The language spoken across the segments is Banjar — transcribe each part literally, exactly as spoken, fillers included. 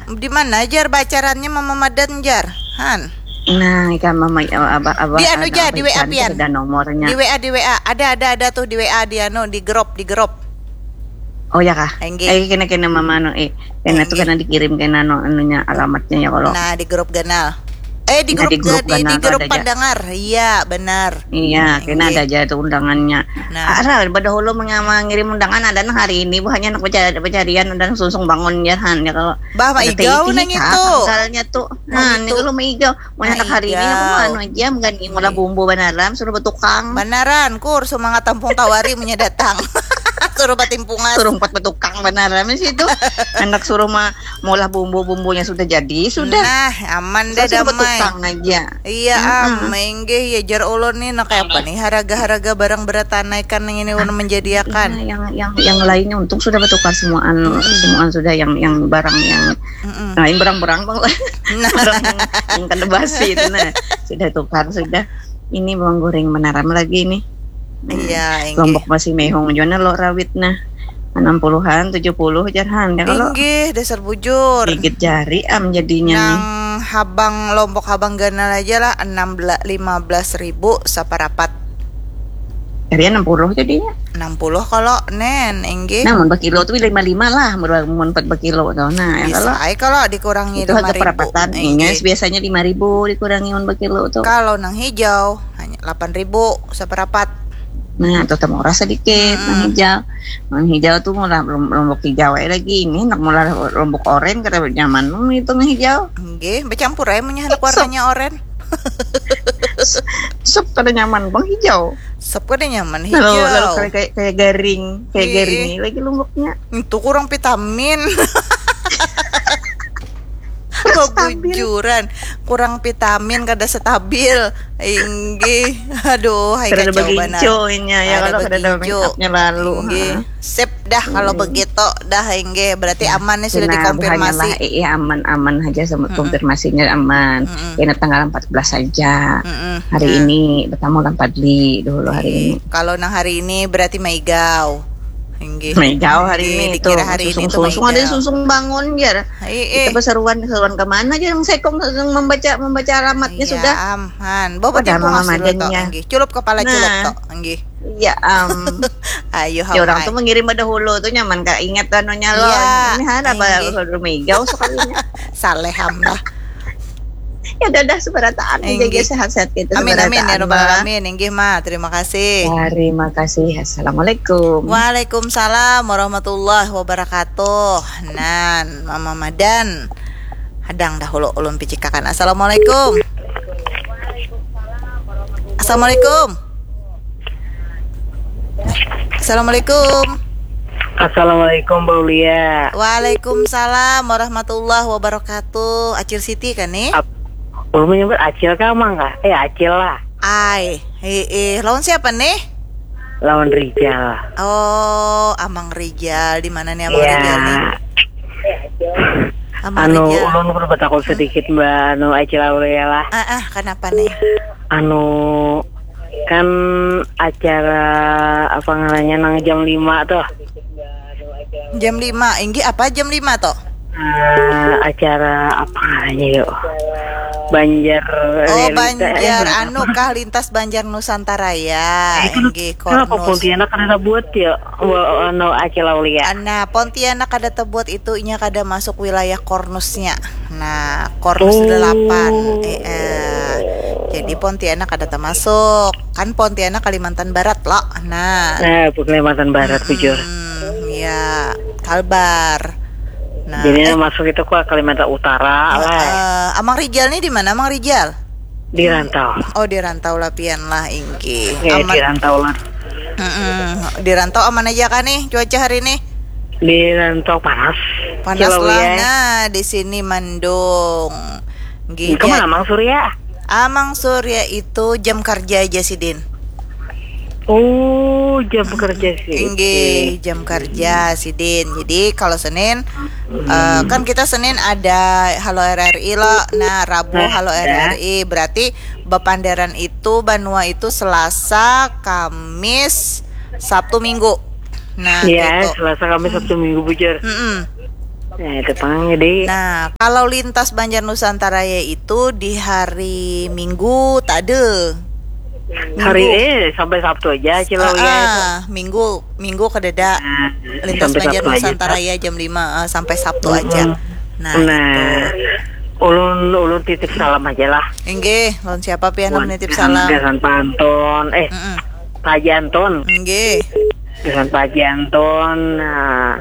Di mana, jar, bacarannya Mama Madan, jar? Han. Nah, ikan mama, abah, abah Di anu ja, di WA ikan pian. Ada nomornya. Di WA, di WA. Ada, ada, ada tuh di WA, di anu, di grup, di grup. Oh ya kah? Enggih. Eh, kena kena mama anu, eh, kena tuh Enggih. Kena dikirim kena anu anunya alamatnya ya kalau. Nah, di grup ganal. Eh, di Nah, grup, di grup di, di ganal grup ada ja. Pendengar. Iya, benar. Iya, kena Enggih. Ada aja tuh undangannya. Nah. Ada pada hulu menga- mengirim undangan ada nah hari ini bukannya anak pencari- pencarian dan susung bangun ya Han ya kalau. Bah, Ada igau kayak nang ini, itu. Tanggalnya tuh. Nang Nah, ini itu. Kalau mau igau, mau Nah, anak hari ini aku igau. Mau anu aja mengani mula bumbu banaram suruh bertukang. Banaran, kur, semua tampung tawari punya datang. Suruh batimpungas. Suruh empat bertukang banaram di situ. Anak suruh ma- maulah bumbu-bumbunya sudah jadi sudah. Nah, aman dah, Sudah damai. Bertukang aja. Iya, am, enggih ya, jar ulun nih, nah, kayak apa nih harga-harga barang beratanaikan yang ini ulun menjadiakan. Nah, yang yang yang lainnya untung sudah bertukar semuaan semuaan sudah yang yang barang yang Mm-mm. lain barang-barang bang Nah. Barang yang, yang kada basi itu nah sudah tukar sudah. Ini bawang goreng menaram lagi nih. Iya, enggih. Lombok masih mehong juga nah lo rawit nah. Enam puluhan, tujuh puluh jarhan ya kalau Inggih, dasar bujur. Gigit jari am jadinya nih. Nang habang, lombok habang ganal aja lah, enam belas, lima belas ribu saparapat. Jadi enam puluh jadinya. Enam puluh kalau nen, inggih. Nah, mun bakilo tuh lima lima lah, mun mun empat bakilo tuh. Nah, ya Bisa kalau ai kalau dikurangi itu lima harga ribu. perapatan, Inggih. Biasanya lima ribu dikurangi mun bakilo tuh. Kalau nang hijau hanya delapan ribu saparapat. Nah, tetap murah sedikit, nang hijau. Nang hijau tuh mula lom- lombok hijau aja lagi. Ini nak mula lombok oren kada nyaman hmm, itu nang hijau. Nggih, bercampur aja punya anak warnanya oren. Sop kada nyaman bang hijau. Sop kada nyaman Kalau kalau hijau. kayak kayak, kayak garing, kayak Ih. Garing ini lagi lomboknya. Itu kurang vitamin. Kebujuran, kurang vitamin, kada stabil. Inggih. Aduh, hai Kada ada kacau bagi banar. hijaunya ya Kada kalau kada ada bagi hijau. Makeupnya lalu. Inggih. Ha. Sip dah kalau begitu dah, inggih. Berarti aman nih, sudah Nah, dikonfirmasi. Iya aman aman aja sama konfirmasinya aman. Ini tanggal empat belas saja. Mm-mm. Hari Nah. Ini bertamu lawan Padli dulu hari ini. Kalau nang hari ini berarti maigau. Inggih. Maigau hari Inggih, ini dikira tuh. Hari ini tuh Susung-susung ada maigau. Susung bangun jar. Hai, eh. Kita berseruan seruan kemana aja yang sekong yang membaca membaca alamatnya Iya, sudah. Am, han. Bawa Padahal batimpungas Mama dulu toh, Madannya. Inggih. Culup kepala culup Nah. Toh, inggih. Ya am. Ayo, Ya orang hai. Tuh mengirim pada hulu tuh nyaman kak ingat anunya loh. Iya, Ini hana apa inggih. Hulu Meigau sekalinya. Saleh ham lah. Ya dadah sebarata ati Inggih. Jaga sehat-sehat kita. Amin, amin, ya Sebarata rabbal Abah. Alamin. Inggih, Ma. Terima kasih. Terima kasih. Assalamualaikum. Waalaikumsalam warahmatullahi wabarakatuh. Nan, Mama Madan. Hadang dahulu ulun picikakan. Assalamualaikum. Assalamualaikum. Assalamualaikum. Assalamualaikum Mbak Ulia. Waalaikumsalam warahmatullahi wabarakatuh. Acil Siti kan nih? Ap- Ulun menyebut Acil kah Mang kah? Eh Acil lah. Ai, eh, eh, lawan siapa nih? Lawan Rijal. Oh, Amang Rijal. Di mana nih Amang Rijal nih? Ya, Amang anu Rijal. Ulun kudu batakun sedikit Mbak anu Acil Aulia lah. Ah, ah, kenapa nih? Anu kan acara apa ngarannya nang jam lima tuh. Jam lima, inggih apa jam lima toh? Eh, acara apa ngarannya yuk? Banjar Oh, Realita, Banjar eh, anu kah, lintas Banjar Nusantara ya, Itu inggih, kenapa Kornus. Pontianak kada buat ya? Wa- Anu Acil Aulia. Nah, Pontianak kada terbuat itu, inya kada masuk wilayah Kornusnya. Nah, Kornus Oh. delapan. Eh, eh. Jadi Pontianak kada termasuk. Kan Pontianak Kalimantan Barat loh. Nah. Nah, Kalimantan Barat bujur. Hmm, ya, Kalbar. Nah, Jadi eh, masuk itu ke Kalimantan Utara lah. eh, Amang Rijal nih di mana, Amang Rijal? Di rantau. Oh, di rantau lah pian lah, inggih. Ya, Aman. Di rantau lah. Mm-mm. Di rantau aman aja kan nih cuaca hari ini? Di rantau panas. Panas Kalau lah. ya. Nah, di sini mendung. Nggih, Kemana ja- Mang Surya? Amang Surya itu jam kerja aja sidin. Oh, jam kerja sih. Inggih, jam kerja sidin. Jadi kalau Senin eh, kan kita Senin ada Halo R R I lo. Nah, Rabu Nah, Halo ada. R R I. Berarti bepandaran itu banua itu Selasa, Kamis, Sabtu, Minggu. Nah, Iya, gitu. Selasa, Kamis, Sabtu, Minggu bujur. Mm-mm. Nah, itu pang jadi. Nah, kalau lintas Banjar Nusantara Raya itu di hari Minggu tak ada. Hari eh sampai Sabtu aja Cilawia itu. Ah, minggu minggu kededa. Nah, Lintas sampai Banjar Sabtu aja. Nusantara Raya jam lima eh, sampai Sabtu aja. Nah, Nah, itu. ulun ulun titip salam aja lah. Inggih, lawan siapa pian Wan- nitip salam? Gasan Pak Anton, eh Mm-mm. Pak Haji Anton, Inggih. gasan Pak Haji Anton. Nah,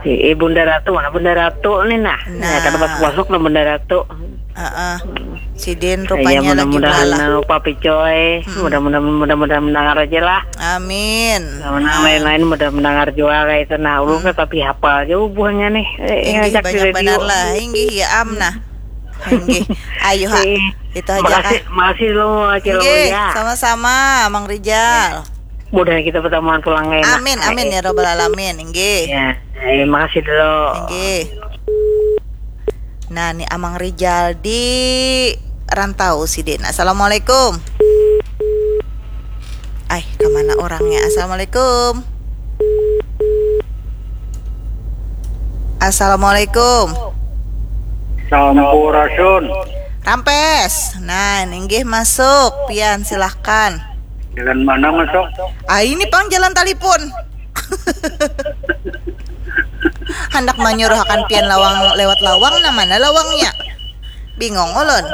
eh Bunda Ratu, mana Bunda Ratu nih nah? Nah. Nah, kada masuk masuk lah Bunda Ratu. Heeh. Sidin Ya, rupanya lagi mudah-mudahan belalah. Pak Picoy, mudah-mudahan mudah-mudahan mendengar aja lah. Amin. Nah, lain-lain mudah mendengar juga kayak itu. Nah, ulun kan tapi hafal aja buhannya nih. Eh, Inggih, ngajak di banyak radio. Benar lah. Inggih, ya am nah. Inggih. Ayo ha. Eh, Itu aja makasih, ah. Makasih lo Acil Inggih, ya. Sama-sama Mang Rijal. Mudah kita pertemuan pulang enak. Amin, amin ya robbal alamin. Inggih. Ya, eh, makasih dulu. Inggih. Nah, ni Amang Rijal di rantau sidin. Assalamualaikum. Ay, kemana orangnya? Assalamualaikum. Assalamualaikum. Sampurasun. Rampes. Nah, inggih masuk. Pian silahkan. Jalan mana masuk? Ah, ini pang jalan talipun. Handak manyuruhakan pian lawang lewat lawang, nah mana lawangnya? Bingung ulun.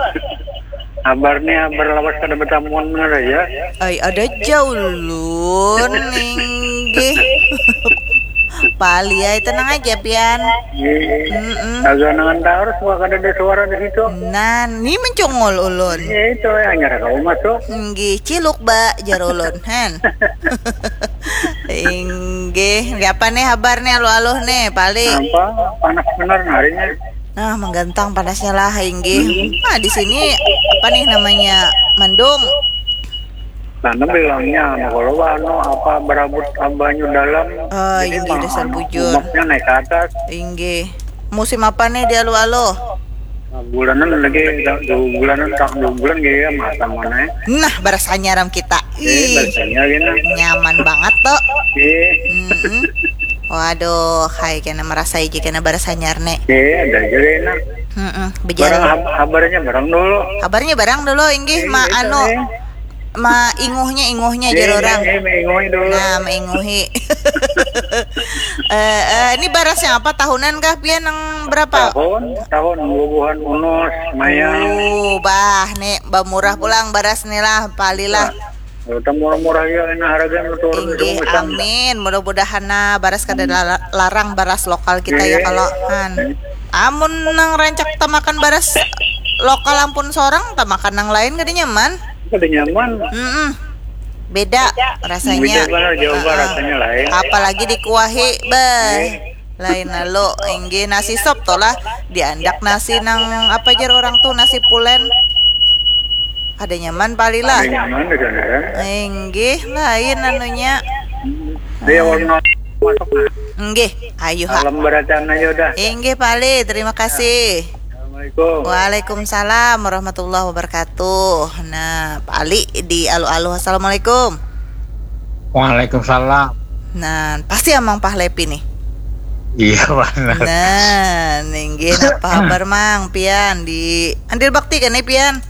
Habar nih, habar lawas kada batamuan mana ya? Ay, ada jaulun, inggih. Pali ay, tenang aja pian. Mm-mm. Agak nangan tarus, wah kada ada suara di situ. Nah, ni mencungul ulun. Ya itu, hanya kau masuk. Inggih, ciluk ba, jar ulun. Hen. Inggih, apa nih habar nih aluh-aluh nih, Pali? Apa? Panas benar harinya. Nah, menggantang panasnya lah, inggih. Nah, di sini apa nih namanya? Mendung. Karena bilangnya anu kalau anu apa berabut banyu dalam. Oh, Jadi inggih, mah dasar anu, bujur. Umaknya naik ke atas. Inggih. Musim apa nih di aluh-aluh? Nah, bulanan lagi dua bulanan tak dua bulan gitu ya masa mana ya. Nah, barasanya ram kita. Eh, Ih, bahasanya gini. Nyaman banget tuh. Eh, Mm-mm. Waduh, hai kena merasa aja kena barasanyar nih. eh ada aja enak. Mm-mm. Barang Bejar. hab- habarnya barang dulu. Kabarnya barang dulu, inggih, ma Iya, anu, iya. ma inguhnya inguhnya jar Eh, orang. eh, eh, Nah, menguhi. Eh, eh, ini barasnya apa, tahunan kah pian yang berapa? Tahun, tahun bubuhan unus, mayang. Uh, bah, nih, bamurah pulang baras nih lah, palilah. Kalau tak murah-murah ya, enak harga turun Inggih, amin. Mudah-mudahan nah baras kada la- larang baras lokal kita ya kalau han. Amun nang rancak tamakan baras lokal ampun sorang, tamakan nang lain kada nyaman. Kada nyaman. Mm-mm. Beda rasanya. Beda banar jauh rasanya lain. Apalagi dikuahi, beh. Lain lalu, inggih nasi sop toh lah. Diandak nasi nang apa jar orang tuh, nasi pulen. Ada nyaman pali lah. Ada nyaman dengan orang. Inggih, lain anunya. Dia warna masuk nah. Inggih, ayo ha. Alam beratan aja udah. Inggih pali, terima kasih. Assalamualaikum. Waalaikumsalam warahmatullahi wabarakatuh. Nah, pali di alu-alu. Assalamualaikum. Waalaikumsalam. Nah, pasti amang Pahlepi nih. Iya benar. Nah, ninggih apa kabar mang pian di Andir Bakti kan nih pian?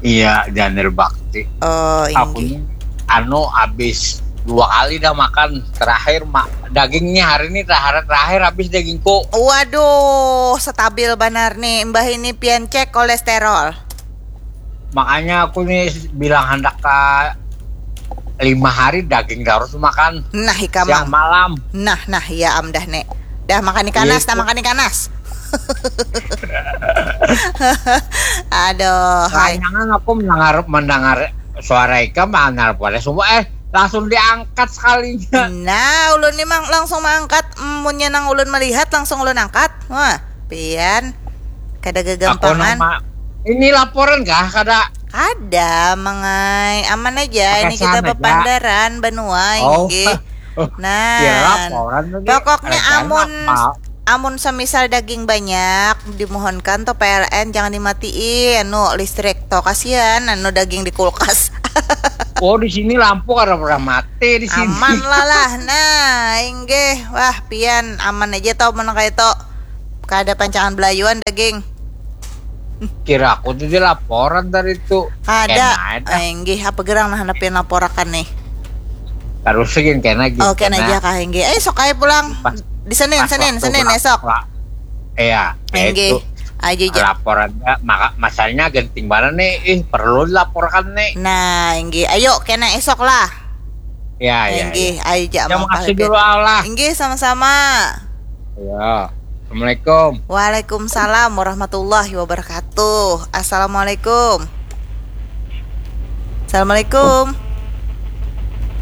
Iya, Janir Bakti. Oh, Aku inggih. Nih, anu habis dua kali dah makan terakhir mak dagingnya hari ini terakhir terakhir habis dagingku. Waduh, stabil banar nih. Mbah ini pian cek kolesterol. Makanya aku nih bilang hendak ke lima hari daging terus makan. Nah, ikam siang malam. Nah, nah, ya am dah nek. Dah makan ikan nas, dah makan ikan nas. Aduh, hai. Jangan aku mendengar mendengar suara ikam mendengar pada semua eh langsung diangkat sekalinya. Nah, ulun ni mang langsung mengangkat. Munnya nang ulun melihat langsung ulun angkat. Wah, pian kada gagampangan. Ini laporan kah kada? Kada, mangai aman aja. Ini kita Pakai sana, bepandaran benua Oh. inggih. Oh, Nah, ya, laporan lagi. Pokoknya Rencana amun apa? Amun semisal daging banyak dimohonkan to P L N jangan dimatiin anu listrik to kasihan anu daging di kulkas. Oh di sini lampu kada pernah mati di sini. Aman lah lah. Nah, inggih. Wah, pian aman aja to mun kayak to. Kada pancangan belayuan daging. Kira aku tuh di laporan tadi tuh. Kada. Enggih, apa gerang nah handak pian laporakan nih? Terus lagi kena gitu. Oh, kena aja kah enggih. Eh, sok aja pulang. Di Senin, Senin, Senin esok. Iya. Enggih. Aja aja. Laporan maka masalahnya genting banget nih. Ih, perlu dilaporkan nih. Nah, enggih. Ayo kena esok lah. Ya, ya. Enggih, aja. Terima kasih dulu Allah. Enggih, sama-sama. Ya. Assalamualaikum. Waalaikumsalam warahmatullahi wabarakatuh. Assalamualaikum. Assalamualaikum.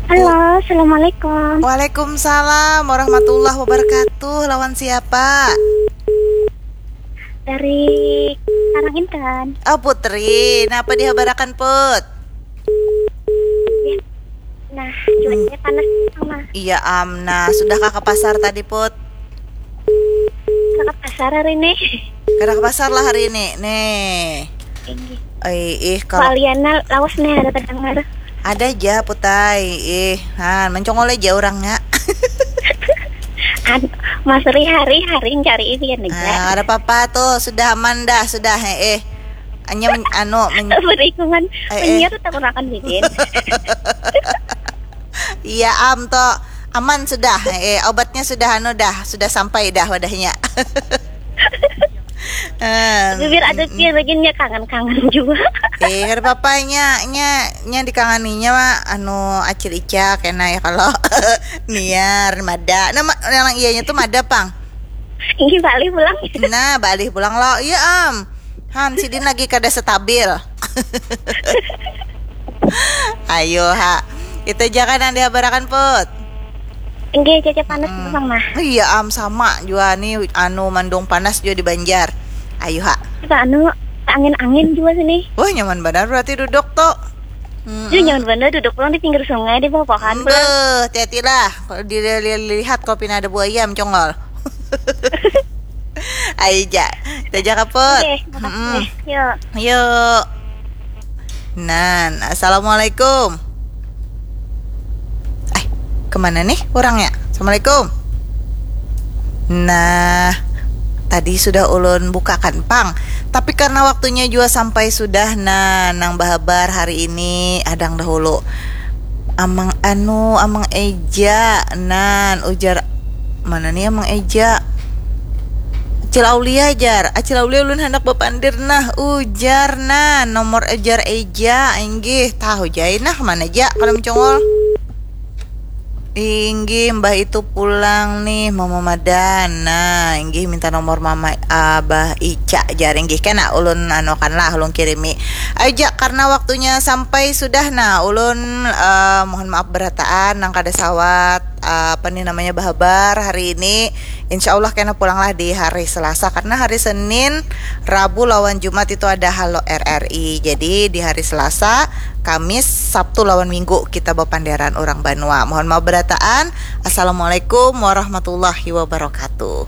Halo, assalamualaikum. Waalaikumsalam warahmatullahi wabarakatuh. Lawan siapa? Dari Karang Intan. Oh, Putri, napa dihabarakan, Put? Nah, cuacanya panas nih, Mama. Iya, am. Nah, sudahkah ke pasar tadi, Put? Ke pasar hari ini. Kada ke pasar lah hari ini. Nih. Enggih. Eh, ih, kalau Waliana lawas nih ada terdengar. Ada aja, Putai. Ih, han, mencongol aja orangnya. An, Mas Ri hari-hari cari ini ya nih. Ah, ada apa-apa tuh, sudah aman dah, sudah. Eh, eh. Hanya men- anu men- Berikungan Eh, eh. Menyiar tak kurangkan bibin. Iya, am, toh. Aman sudah. Eh, obatnya sudah anu dah, sudah sampai dah wadahnya. Eh, Bibir ada pian lagi nya kangen-kangen juga. Eh, kada apa-apa nya, nya, nya dikanganinya mah anu Acil Ica kena ya kalau niar mada. Nah, ma- yang iyanya tuh mada pang. Ini balik pulang. Nah, balik pulang lo. Iya, am. Han, sidin lagi kada stabil. Ayo ha. Itu aja kan yang dihabarakan, Put. Enggih, caca panas hmm. Bang nah. Iya, am, sama jua nih anu mandung panas jua di Banjar. Ayo ha. Kita anu angin-angin juga sini. Wah, nyaman benar berarti duduk tuh. Hmm. Jadi nyaman benar duduk pulang di pinggir sungai di bawah pohon. Beuh, hati-hatilah. Kalau dilihat kalau pina ada buaya mencongol. Ayo ja. Kita aja kaput. Oke, Mm-mm. Yuk. Yuk. Nan, assalamualaikum. Eh, kemana nih orangnya? Assalamualaikum. Nah, tadi sudah ulun bukakan pang. Tapi karena waktunya juga sampai sudah, nah, nang bahabar hari ini adang dahulu. Amang anu, Amang Eja, nan ujar mana nih Amang Eja? Acil Aulia jar, Acil Aulia ulun hendak bapandir nah, ujar nah nomor ujar Eja, inggih tahu jai nah mana ja kalau mencongol. Inggih, mbah itu pulang nih, Mama Madan. Nah, inggih minta nomor Mama Abah Ica jar inggih kena ulun anukan lah, ulun kirimi. Aja karena waktunya sampai sudah. Nah, ulun eh, mohon maaf berataan nang kada sawat eh, apa nih namanya bahabar hari ini. Insya Allah kena pulanglah di hari Selasa karena hari Senin, Rabu lawan Jumat itu ada Halo R R I. Jadi di hari Selasa, Kamis, Sabtu lawan Minggu kita bapanderan orang banua. Mohon maaf berataan. Assalamualaikum warahmatullahi wabarakatuh.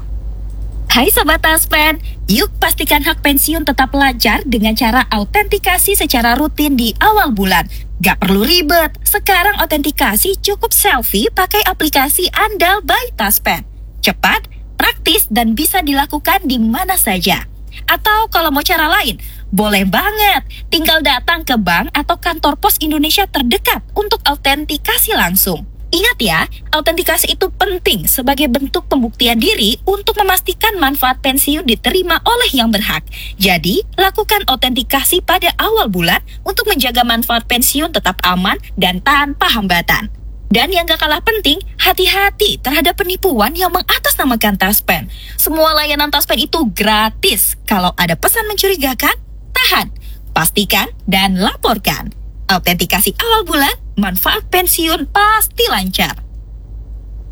Hai Sobat Taspen, yuk pastikan hak pensiun tetap lancar dengan cara autentikasi secara rutin di awal bulan. Gak perlu ribet, sekarang autentikasi cukup selfie pakai aplikasi andal by Taspen. Cepat, praktis, dan bisa dilakukan di mana saja. Atau kalau mau cara lain, boleh banget. Tinggal datang ke bank atau kantor pos Indonesia terdekat untuk autentikasi langsung. Ingat ya, autentikasi itu penting sebagai bentuk pembuktian diri untuk memastikan manfaat pensiun diterima oleh yang berhak. Jadi, lakukan autentikasi pada awal bulan untuk menjaga manfaat pensiun tetap aman dan tanpa hambatan. Dan yang gak kalah penting, hati-hati terhadap penipuan yang mengatasnamakan Taspen. Semua layanan Taspen itu gratis. Kalau ada pesan mencurigakan, tahan, pastikan, dan laporkan. Autentikasi awal bulan, manfaat pensiun pasti lancar.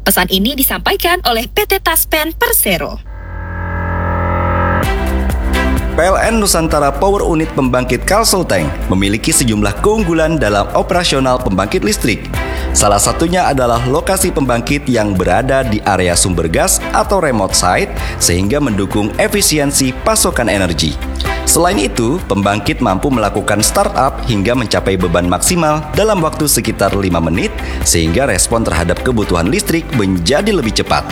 Pesan ini disampaikan oleh P T Taspen Persero. P L N Nusantara Power Unit Pembangkit Kalsel Tank memiliki sejumlah keunggulan dalam operasional pembangkit listrik. Salah satunya adalah lokasi pembangkit yang berada di area sumber gas atau remote site sehingga mendukung efisiensi pasokan energi. Selain itu, pembangkit mampu melakukan startup hingga mencapai beban maksimal dalam waktu sekitar lima menit sehingga respon terhadap kebutuhan listrik menjadi lebih cepat.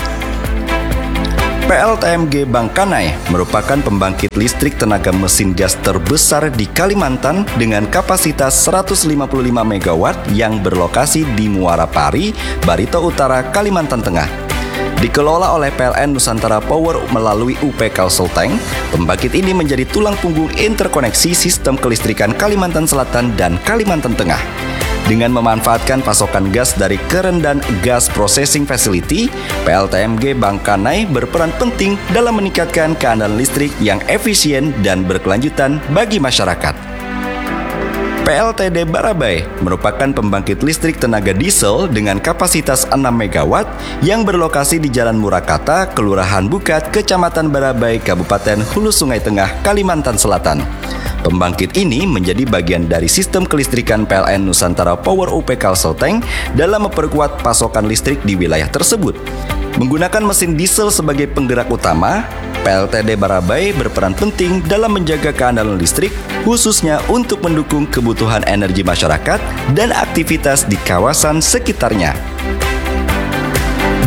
P L T M G Bangkanai merupakan pembangkit listrik tenaga mesin gas terbesar di Kalimantan dengan kapasitas seratus lima puluh lima megawatt yang berlokasi di Muara Pari, Barito Utara, Kalimantan Tengah. Dikelola oleh P L N Nusantara Power melalui U P Kalselteng, pembangkit ini menjadi tulang punggung interkoneksi sistem kelistrikan Kalimantan Selatan dan Kalimantan Tengah. Dengan memanfaatkan pasokan gas dari Kerendan Gas Processing Facility, P L T M G Bangkanai berperan penting dalam meningkatkan keandalan listrik yang efisien dan berkelanjutan bagi masyarakat. P L T D Barabai merupakan pembangkit listrik tenaga diesel dengan kapasitas enam megawatt yang berlokasi di Jalan Murakata, Kelurahan Bukat, Kecamatan Barabai, Kabupaten Hulu Sungai Tengah, Kalimantan Selatan. Pembangkit ini menjadi bagian dari sistem kelistrikan P L N Nusantara Power U P Kalselteng dalam memperkuat pasokan listrik di wilayah tersebut. Menggunakan mesin diesel sebagai penggerak utama, P L T D Barabai berperan penting dalam menjaga keandalan listrik, khususnya untuk mendukung kebutuhan energi masyarakat dan aktivitas di kawasan sekitarnya.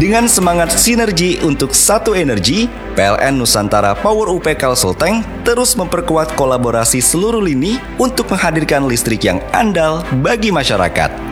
Dengan semangat sinergi untuk satu energi, P L N Nusantara Power U P Kalselteng terus memperkuat kolaborasi seluruh lini untuk menghadirkan listrik yang andal bagi masyarakat.